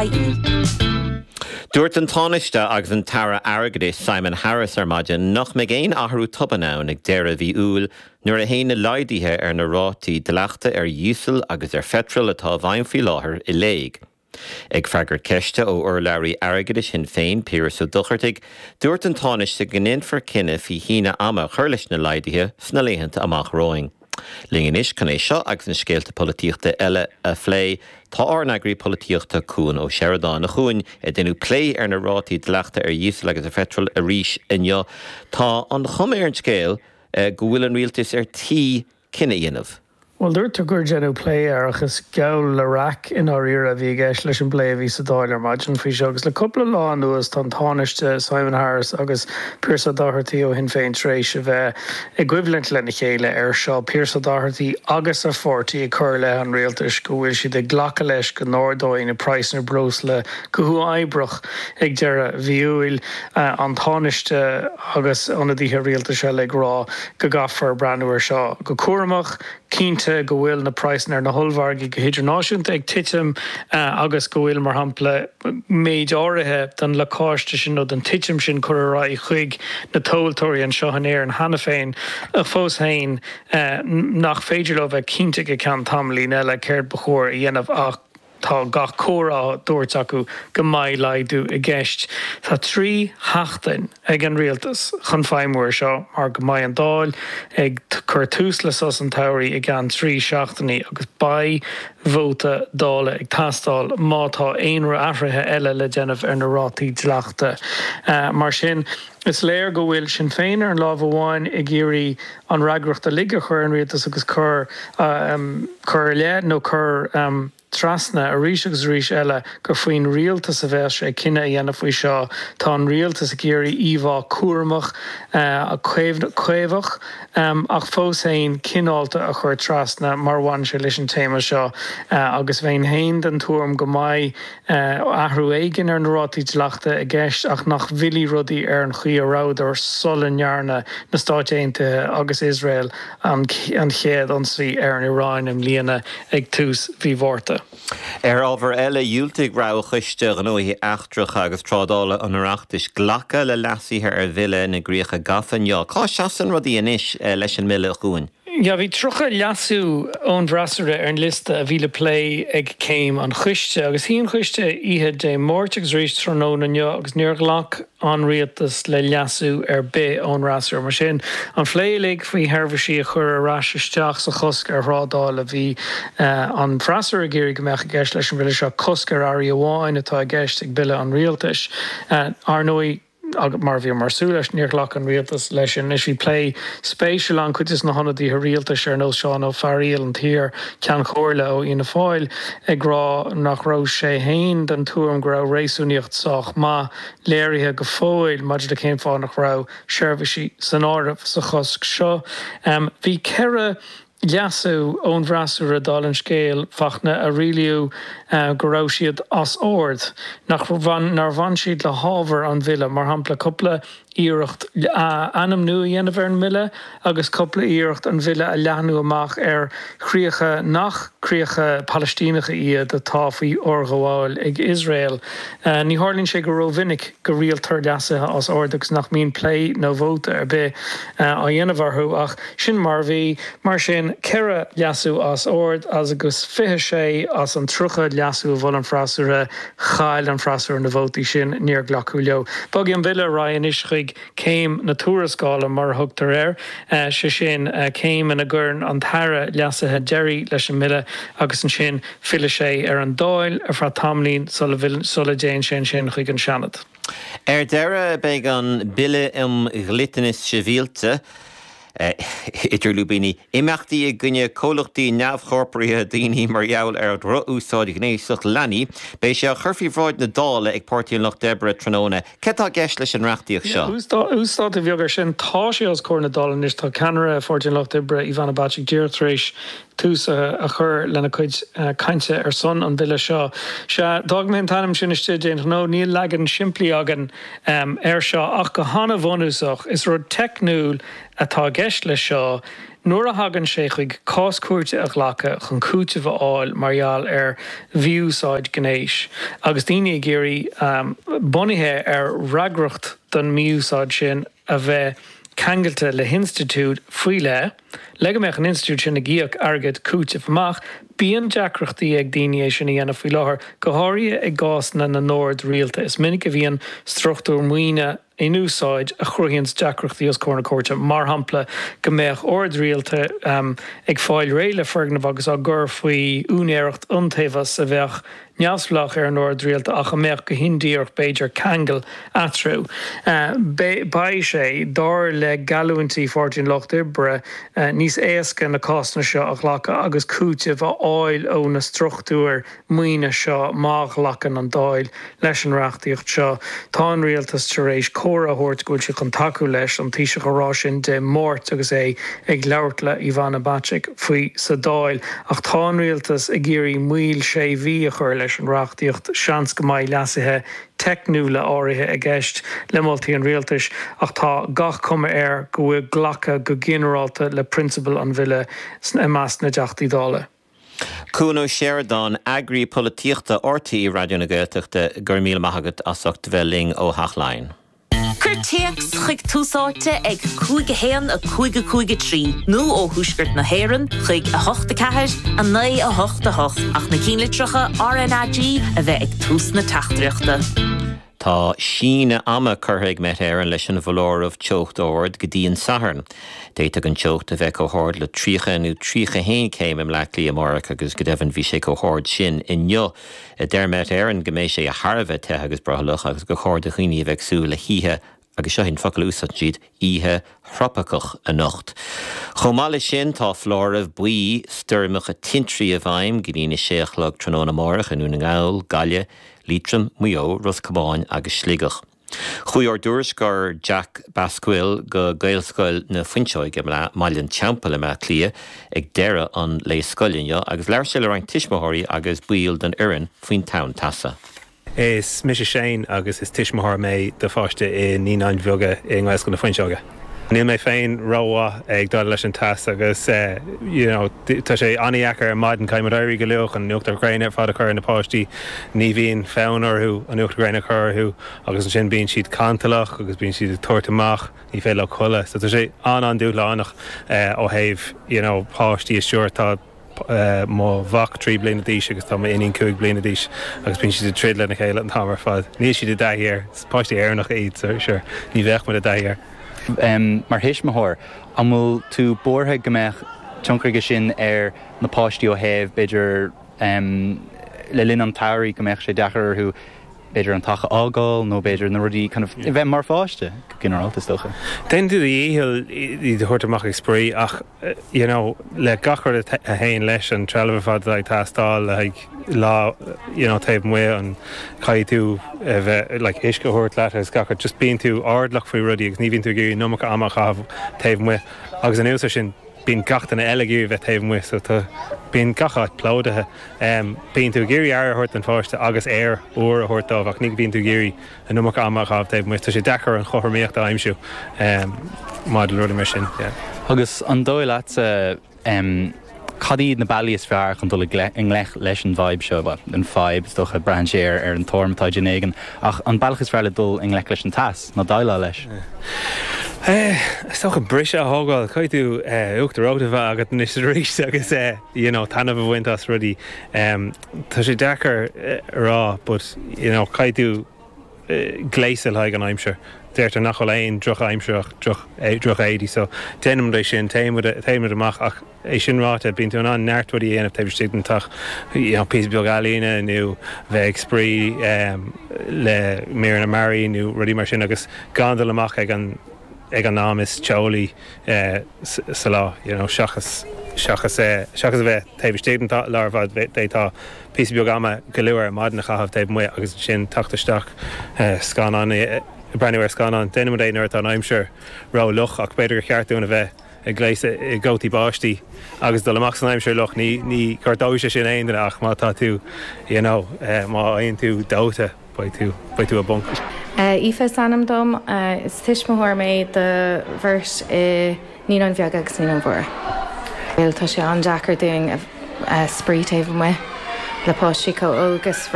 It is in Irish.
ie. Dúirt an Tánaiste agus an tAire Airgeadais Simon Harris ar maidin nach mbeidh aon athrú tobann ann ag deireadh mhí Iúil nuair a théann na laghduithe ar na rátaí dleachta ar dhíosal agus ar pheitreal atá i bhfeidhm faoi láthair i léig. Ag freagairt ceiste ó urlabhraí airgeadais Shinn Féin, Piaras Ó Dochartaigh, dúirt an Tánaiste go ndéanfar cinneadh faoi shíneadh ama a chur leis na laghduithe sna laethanta amach romhainn. Linn anois chun é seo agus na scéalta polaitíochta eile a phlé, tá ár n-eagraí polaitíochta Cuan Ó Seireadáin. A Chuain, deineadh plé ar na rátaí dleachta ar dhíosal agus ar pheitreal arís inniu. Tá an chuma ar an scéal go bhfuil an rialtas ar tí cinneadh a dhéanamh. Bhuel, dúirt tú gur deineadh plé air ach is geall le raic i ndáiríre a bhí i gceist leis an bplé a bhí sa Dáil ar maidin faoi seo. Agus le cúpla lá anuas tá an Tánaiste Simon Harris agus Pearse Ó Dochartaigh ó Shinn Féin tar éis a bheith i gcoimhlint lena chéile air seo, Pearse Ó Dochartaigh agus a pháirtí ag cur i leith an rialtais go bhfuil siad ag glacadh leis go n-ardóidh na praghsanna breosla go huathoibríoch ag deireadh mhí Iúil, an Tánaiste agus ionadaithe rialtais eile ag rá go gcaithfear breathnú air seo go cúramach, cinnte go bhfuil na praghsanna ar na hollmhargaí go hidirnáisiúnta ag titim agus go bhfuil, mar shampla, méid áirithe den lacáiste sin nó den titim sin curtha ar aghaidh chuig na tomhaltóirí anseo in Éirinn cheana féin, ach fós féin nach féidir leo bheith cinnte go ceann tamaillín eile céard ba chóir a dhéanamh ach. Tá gach comhartha á dtabhairt acu go mbeidh laghdú i gceist. Tá 3 sheachtain ag an rialtas chun feidhmiú air seo mar go mbeidh an Dáil ag cur tús le sos an tsamhraidh i gceann 3 seachtainí agus beidh vóta Dála ag teastáil má tá aon athruithe eile le déanamh ar na rátaí dleachta. Mar sin, is léir go bhfuil Sinn Féin ar an lámh amháin ag iarraidh an fhreagracht uilig a chur ar an rialtas agus cur cur i leith nó cur trasna arís agus arís eile gur faoin rialtas a bheas sé cinneadh a dhéanamh faoi seo. Tá an rialtas ag iarraidh íomhá cúramach, caomhach ach fós féin cineálta a chur trasna mar a bhaineann sé leis an téama seo agus bheinn féin den tuairim go mbeidh athrú éigin ar na rátaí dleachta i gceist ach nach bhfillfidh rudaí ar an chaoi a rabhadar sula ndearna na Stáit Aontaithe agus Iosrael an chéad ionsaí ar an Iaráin i mbliana ag tús mhí Mhárta. Ar ábhar eile, dhiúltaigh Roghchoiste Gnóthaí Eachtracha agus Trádála an Oireachtais glacadh le leasuithe ar Bhille na gCríocha Gafa inniu. Cá seasann rudaí anois leis an mbille, a Chuain? Yeah, bhí 30 leasú ón bhfreasúra ar an liosta a bhí le plé ag céim an choiste agus shuigh an coiste oíche Dé Máirt agus arís tráthnóna inniu agus níor ghlac an rialtas le leasú ar bith ón fhreasúra. Mar sin, an plé uilig faoi sheirbhísí a chur ar ais isteach sa chosc ar thrádáil a bhí an freasúra ag iarraidh go mbeadh i gceist leis an bhille seo, cosc ar earraí amháin atá i gceist ag bille an rialtais. Ar ndóigh, Agus mar a bhíomar ag súil leis, níor ghlac an rialtas leis sin. Anois bhí plé spéisiúil ann, cuid de na hionadaithe rialtais ar nós Seán Ó Fearaíl, an t-iar Cheann Comhairle ó Fhianna Fáil, ag rá nach raibh sé fhéin den tuairim go raibh réasúnaíocht sách maith léirithe go fóill maidir le cén fáth nach raibh seirbhísí san áireamh sa chosc seo. Bhí 4 leasú ón bhfreasúra, dála an scéil, Fachtna, a rialaíodh go raibh siad as ord, nach nár bhain siad le hábhar an bhille, mar shampla cúpla iarracht ainm nua a dhéanamh ar an mbille agus cúpla iarracht an bille a leathnú amach ar chríocha nach críocha Palaistíneacha iad atá faoi fhorghabháil ag Iosrael. Ní tharlaíonn sé go rómhinic go riailtear leasuithe as ord agus nach mbíonn plé nó vóta ar bith á dhéanamh orthu ach Sin mar a bhí. Mar sin, 4 leasú as ord agus 26 as an 30 leasú a mhol an freasúra, chaill an freasúra na vótaí sin, níor glacadh leo. Bogfaidh an bille ar aghaidh anois chuig céim na tuarascála, mar a thugtar air, sé sin, céim ina gcuireann an tAire leasuithe deiridh leis an mbille agus ansin fillfidh sé ar an Dáil ar feadh tamaillín sula dtéann sé ansin chuig an Seanad. Ar deireadh, beidh an Bille um Dhliteanas Sibhialta, idir lúibíní, imeachtaí i gcoinne comhlachtaí neamhchorpraithe daoine mar gheall ar dhroch-úsáid ghnéasach leanaí, beidh sé á chur faoi bhráid na Dála ag Páirtí an Lucht Oibre tráthnóna. Céard atá i gceist leis an reachtaíocht seo? Uasdátú beag air sin. Tá sé os comhair na Dála anois. Tá ceannaire Pháirtí an Lucht Oibre, Ivana Bacik, díreach tar éis tús a chur lena cuid cainte ar son an bhille seo. Sea, d'fhág mé an t-ainm sin istigh d'aon ghnó, níl leagan simplí againn air seo ach go hana-bhunúsach, is rud teicniúil atá i gceist leis seo. Nuair a thagann sé chuig cás cúirte a ghlacadh chun cúiteamh a fháil mar gheall ar mhí-úsáid gnéis, agus daoine ag iarraidh, bunaithe ar fhreagracht don mhí-úsáid sin a bheith ceangailte le hinstitiúid faoi leith, le go mbeadh an institiúid sin ag íoc airgead cúitimh amach, bíonn deacrachtaí ag daoine é sin a dhéanamh faoi láthair, go háirithe i gcásanna na n-ord rialta. Is minic a bhíonn struchtúir maoine. in úsáid a chruthaíonns deacrachtaí os comhair na cúirte, mar shampla go mbeadh ord rialta ag fáil réidh le foirgneamh agus á gcur faoi úinéireacht iontaobhas a bheadh neamhspleách ar an ord rialta ach a mbeadh go hindíreach b'fhéidir ceangal eatarthu. Beidh sé, dar le geallúintí Pháirtí an Lucht Oibre, níos éasca na cásanna seo a ghlacadh agus cúiteamh a fháil ó na struchtúir maoine seo má ghlacann an Dáil leis an reachtaíocht seo. Tá an Rialtas tar éis comhartha a thabhairt go bhfuil siad chun tacú leis, an Taoiseach a rá sin Dé Máirt agus é ag labhairt le Ivana Bacik faoi sa Dáil. Ach tá an Rialtas ag iarraidh moill sé mhí a chur leis an reachtaíocht. Seans go mbeidh leasuithe teicniúla áirithe i gceist le moltaí an Rialtais ach tá gach cuma air go bhfuil glacadh go ginearálta le prionsabail an bhille i measc na dTeachtaí Dála. Cuan Ó Seireadáin, Eagraí Polaitíochta RTÉ Raidió na Gaeltachta, go raibh míle maith agat as ucht a bheith linn ó Theach Laighean. Cuir téacs chuig Tús Áite ag 5 1 5 5 3 nó ó Thuaisceart na hÉireann chuig 8 4 9 8 8 ach na cinnlitreacha RnaG a bheith ag tús na teachtaireachta. Tá síneadh ama curtha ag Met Éireann leis an bhfoláireamh teocht ard go dtí an Satharn. D'fhéadfadh an teocht a bheith chomh hard le 30 nó 31 céim i mBleá Cliath amárach agus go deimhin bhí sé chomh hard sin inniu. Deir Met Éireann go mbeidh sé thar a bheith te agus brothallach agus gur chóir do dhaoine a bheith ag súil le hoíche, agus seo é an focal a úsáideann siad, oíche thrópaiceach anocht. Chomh maith leis sin, tá foláireamh buí stoirmeacha tintrí i bhfeidhm go dtí'n 6 a chlog tráthnóna amárach i nDún na nGall, Gaillimh, Liatroim, Maigh Eo, Ros Comáin agus Sligeach. Chuaigh ár dtuairisceoir Jack Basquill go Gaelscoil na Fuinseoige i mBaile an Teampaill i mBleá Cliath ag deireadh an lae scoile inniu agus labhair sé le roinnt tuismitheoirí agus baill den fhoireann faoin tonn teasa. Is mise Shane agus is tuismitheoir mé do pháiste i Naíonáin Bheaga i nGaelscoil na Fuinseoige. Níl mé féin rómhaith ag dul leis an teas agus you know tá sé an-dheacair ar maidin, caithfidh muid éirí go luath chun an uachtar ghréine ar fad a chur ar na páistí, ní bhíonn fonn orthu an uachtar gréine a chur orthu agus ansin bíonn siad cantalach agus bíonn siad ag tabhairt amach, ní féidir leo codladh. So tá sé an-an-dúshlánach ó thaobh you know páistí a stiúradh. Tá. mo mhac 3 bliana d'aois agus tá m'iníon 5 bliana d'aois agus bíonn siad ag troid lena chéile an t-am ar fad. Níl siad i dtaithí air. Is páistí Éireannacha iad so sure ní bheadh muid i dtaithí air. Mar thuismitheoir, an bhfuil tú buartha go mbeadh tionchar aige sin ar na páistí ó thaobh, b'fhéidir, le linn an tsamhraidh go mbeadh sé deacair orthu b'fhéidir an teach a fhágáil nó b'fhéidir na rudaí kind of a bheith mar pháiste go ginearálta is dócha. Déanann tú do dhícheall iad a thabhairt amach ag spraoi ach you know le gach rud a théann leis, an trealamh ar fad atá ag teastáil le haghaidh lá you know taobh amuigh, an caithfidh tú a bheith like uisce a thabhairt leat agus gach rud, just bíonn tú airdeallach faoi rudaí agus ní bhíonn tú ag iarraidh an iomarca ama a chaitheamh taobh amuigh agus anuas air sin bíonn gach duine eile ag iarraidh bheith taobh amuigh so tá, bíonn gach áit plódaithe. Bíonn tú ag iarraidh aire a thabhairt don pháiste agus aer úr a thabhairt dóibh ach ní bhíonn tú ag iarraidh an iomarca ama a chaitheamh taobh amuigh. Tá sé deacair an chothromaíocht a aimsiú maidir le rudaí mar sin, yeah. Agus an dóigh leatsa, cad iad na bealaí is fearr chun dul i ngleic leis an bhfadhb seo, bhuel, an fadhb, is dócha, braitheann sé ar an tuairim atá ag duine éigin, ach an bealach is fearr le dul i ngleic leis an teas, ná déileáil leis? Is dócha briseadh a thógáil. Caithfidh tú uachtar reoite a bheith agat anois is arís agus you know taitneamh a bhaint as rudaí. Tá sé deacair a rá but you know caithfidh tú gléasadh le haghaidh an aimsir. Deirtear nach bhfuil aon droch-aimsir ach droch-éadaí so déanann muid é sin, téann muid amach ach é sin ráite bíonn tú in ann neart rudaí a dhéanamh taobh istigh den teach, you know píosa beag ealaíne nó bheith ag spraoi le míreanna mearaí nó rudaí mar sin agus gan dul amach ag an ag an am is teolaí sa lá you know seachas seachas seachas a bheith taobh istigh den lá ar fad d'fhéadfá píosa beag ama go luath ar maidin a chaitheamh taobh amuigh agus ansin teacht isteach scannán ag breathnú ar scannán. Déanann muid é nuair atá an aimsir ró-fhliuch ach b'fhéidir gur cheart dúinn a bheith ag gléasadh i gcótaí báistí agus dul amach san aimsir fhliuch. Ní ní ghortóidh sé sin aon duine ach má tá tú you know má fhaigheann tú dóite beidh tú beidh tú i bponc. Aoife is ainm dom. Is tuismitheoir mé do bheirt i Naíonáin Bheaga agus Naíonáin Mhóra. Bhuel, tá sé an-deacair dúinn spraoi taobh amuigh le páistí chomh óg is.